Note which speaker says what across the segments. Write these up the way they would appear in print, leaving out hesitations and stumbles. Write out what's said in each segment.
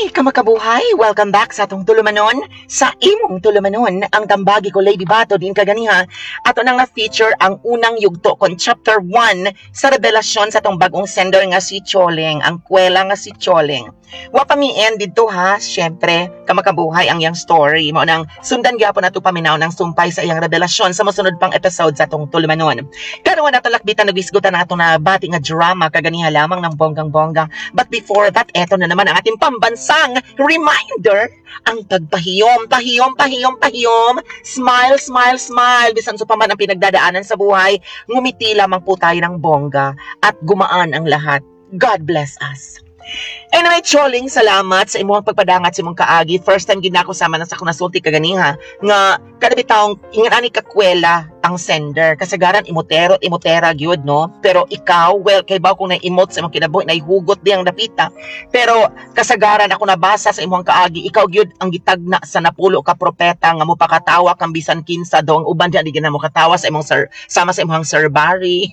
Speaker 1: Hi, kamakabuhay! Welcome back sa atong tulumanon. Sa imong tulumanon, ang tambagi ko, Lady Bato, din kaganiha. Ato nang na-feature ang unang yugto kon chapter 1 sa revelasyon sa atong bagong sender nga si Choleng, ang kwela nga si Choleng. Wa pa mi end didto ha, syempre, kamakabuhay ang iyang story. Mao nang sundan gyapon nato paminaw ng sumpay sa iyang revelasyon sa mosunod pang episode sa atong tulumanon. Karon nato lakbitan nagwisgutan na atong nabati nga drama kaganiha lamang ng bonggang-bongga. But before that, eto na naman ang ating pambansang reminder, ang pagpahiyom, pahiyom, pahiyom, pahiyom, smile, smile, smile, bisan sa pa man ang pinagdadaanan sa buhay, ngumiti lamang po tayo ng bongga at gumaan ang lahat. God bless us. Anyway, Choling, salamat sa imong pagpadangat sa imong kaagi. First time gid nako sama na sa akong nasulti kaganiha nga kada bitawng ingon ani kakwela ang sender. Kasagaran imotero at imotera gyud, no? Pero ikaw, well, kay baw kung na-emote sa imong kinabuhi, nahihugot di ang dapita. Pero kasagaran ako nabasa sa imong kaagi, ikaw gyud ang gitagna sa napulo ka propeta nga mopakatawa kang bisan kinsa daw ang uban diyan di gid na mo katawa sa imong sir, sama sa imong Sir Barry.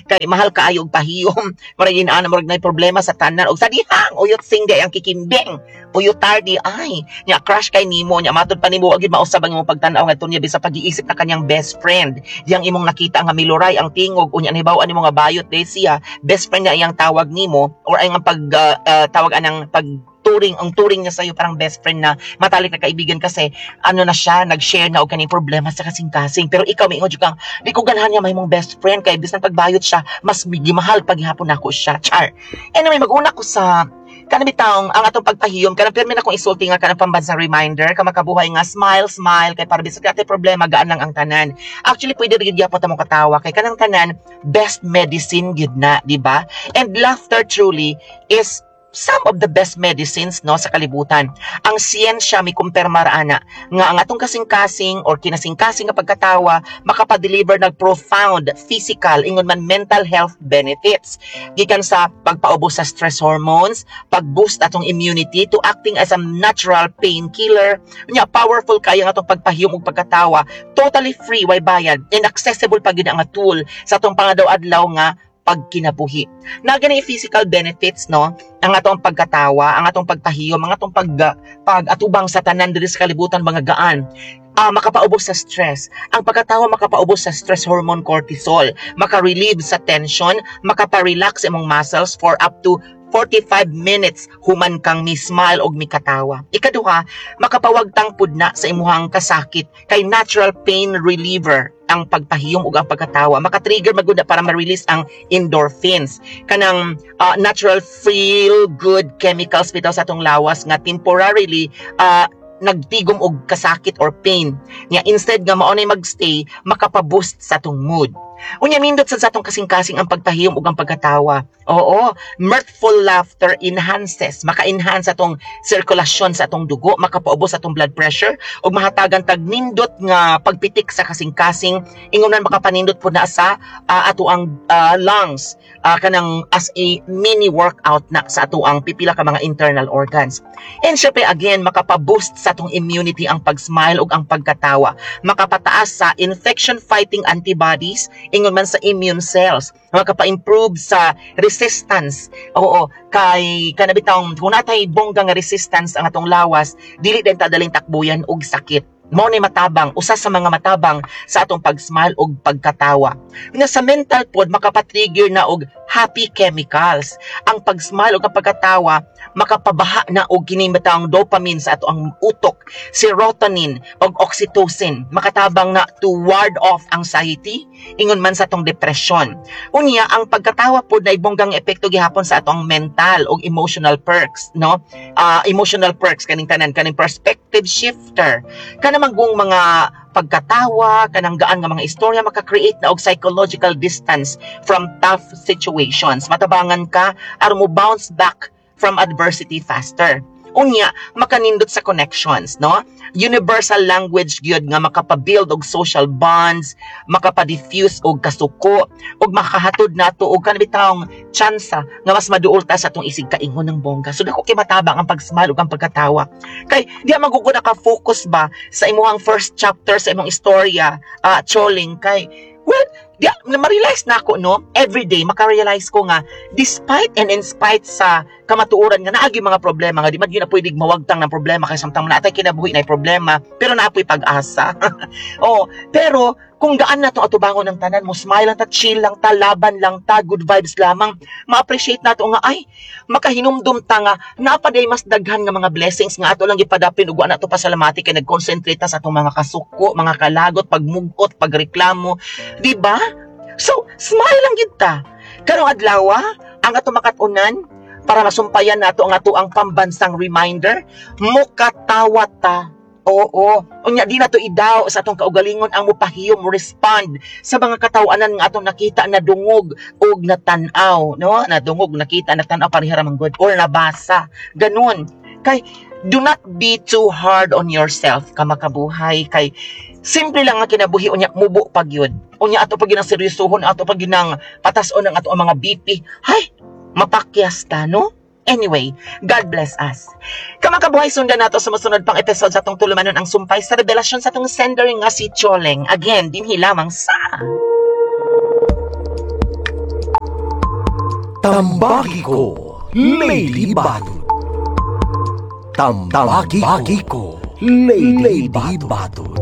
Speaker 1: Kay mahal kaayo og pahiyom. Murag inana, murag nay problema sa tanan og sa dihang uyot sing di ang kikimbing. Uyot tardi ay nya crush kay nimo nya matud pa nimo wa gyud mausab ang imong pagtan-aw ngadto niya bisa pag-iisip na kanyang best friend. Diyang imong nakita nga miluray ang tingog unya nahibaw-an nimo nga bayot day siya, best friend niya iyang tawag nimo or ay ang pag tawag anang pag turing ang turing niya sa'yo, parang best friend na matalik na kaibigan kasi ano na siya, nag-share na og kaning problema sa kasing-kasing. Pero ikaw miingon jud kang di ko ganahan niya mahimong best friend kay bisan pagbayot siya, mas gimahal paghihapon nako siya, char. Anyway, mag-una ko sa kanang bitawng ang atong pagpahiyom, kanang pirmi na akong isulti nga kanang pambansang reminder, kamakabuhay, nga smile, smile kay para bisag atay problema, gaan lang ang tanan. Actually, pwede rin gyapon ta mo katawa kay kanang tanan best medicine gyud na, di ba? And laughter truly is some of the best medicines, no, sa kalibutan. Ang siyensya mi kumpirmar ana nga ang atong kasing-kasing or kinasing-kasing nga pagkatawa makapa-deliver ng profound physical ingon man mental health benefits gikan sa pagpaubos sa stress hormones, pag-boost atong immunity, to acting as a natural painkiller. Nya powerful kaya ang atong pagpahiyom ug pagkatawa, totally free, way bayad, and accessible pa gyud ang tool sa atong pangadaw-adlaw nga pagkinabuhi. Na gani physical benefits, no, ang atong pagkatawa, ang atong pagpahiyom, ang atong pag atubang sa tanan diri sa kalibutan mga gaan. Makapaubos sa stress. Ang pagkatawa makapaubos sa stress hormone cortisol, maka-relieve sa tension, makapa-relax imong muscles for up to 45 minutes human kang mi-smile og mikatawa. Ikaduha, makapawagtang pud na sa imuhang kasakit kay natural pain reliever ang pagpahiyom ug ang pagkatawa. Maka-trigger magud na para ma-release ang endorphins. Kanang natural feel good chemicals bitaw sa atong lawas nga temporarily nagtigom og kasakit or pain. Nya instead nga mao nay magstay, makapa-boost sa atong mood. Unya nindot sad sa atong kasing-kasing ang pagpahiyom ug ang pagkatawa. Oo, mirthful laughter enhances, maka-enhance atong sirkulasyon sa atong dugo, makapaubos sa atong blood pressure ug mahatagan tag nindot nga pagpitik sa kasing-kasing, ingon man makapanindot pud na sa ato ang lungs, kanang as a mini workout na sa ato ang pipila ka mga internal organs. And syempre again, makapa-boost sa atong immunity ang pag-smile ug ang pagkatawa. Makapataas sa infection fighting antibodies, ingon man sa immune cells, makapa-improve sa resistance. Oo, kay kana bitawng kung natay bongga nga resistance ang atong lawas, dili din ta daling takbuyan og sakit. Mao ni matabang, usa sa mga matabang sa atong pag-smile ug pagkatawa. Nga sa mental pod, makapa-trigger na og happy chemicals. Ang pag-smile ug ang pagkatawa makapabaha na og kini bitawng dopamine sa ato ang utok, serotonin ug oxytocin. Makatabang na to ward off anxiety, ingon man sa atong depression. Unya, ang pagkatawa pod na bonggang epekto gihapon sa atong mental ug emotional perks, no? Emotional perks kaning tanan, kaning perspective shifter. Kana manggong mga pagkatawa, kanang gaan nga mga istorya maka-create na og psychological distance from tough situations. Matabangan ka aron mo bounce back from adversity faster. Unya, makanindot sa connections, no? Universal language gyud nga makapa-build og social bonds, makapa-diffuse og kasuko, ug makahatod nato og kanang tsansa nga mas maduol ta sa atong isig kaingon ng bongga. So dako kay matabang ang pag-smile ug ang pagkatawa. Kay di man gud naka-focus ba sa imong first chapter sa imong istorya, Choling, kay well, Di, ma-realize na ako, no? Everyday, maka-realize ko nga, despite and in spite sa kamatuoran nga naagi mga problema, nga di man gyud na pwedeng mawagtang ng problema kay samtang naatay kinabuhi na problema, pero naapoy pag-asa. Oh, pero kung gaan na to atubangon ng tanan mo, smile lang ta, chill lang ta, laban lang ta, good vibes lamang, ma-appreciate nato nga, ay, makahinumdum ta nga, napaday mas daghan nga mga blessings nga ato lang gipadapin ug wa nato pasalamati kay nag-concentrate ta sa atong mga kasuko, mga kalagot, pagmugot, pagreklamo, di ba? So, smile lang gid ta. Karong adlaw, ang ato makat-unan para masumpayan nato ang ato ang pambansang reminder, mukatawa ta. Oo. Unya di na to idaw sa atong kaugalingon ang mupahiyom, mo respond sa mga katawanan nga atong nakita, na dungog og natan-aw, no? Nadungog, nakita, natan-aw, pareha ra man gud or nabasa. Ganun. Kay do not be too hard on yourself, kamakabuhay, kay simple lang ang kinabuhi, unya mubo pag yun. Unya ato pag ginang seryosohon, ato pag ginang patason ang ato ang mga BP. Hay, mapakyas ta, no? Anyway, God bless us. Kamakabuhay, sundan nato sa mosunod pang episode sa atong tulumanon ang sumpay sa revelasyon sa atong sender nga si Choleng. Again, dinhi lamang sa
Speaker 2: Tambagi ko, Lady Badud. Tambagi ko, Lady Badud.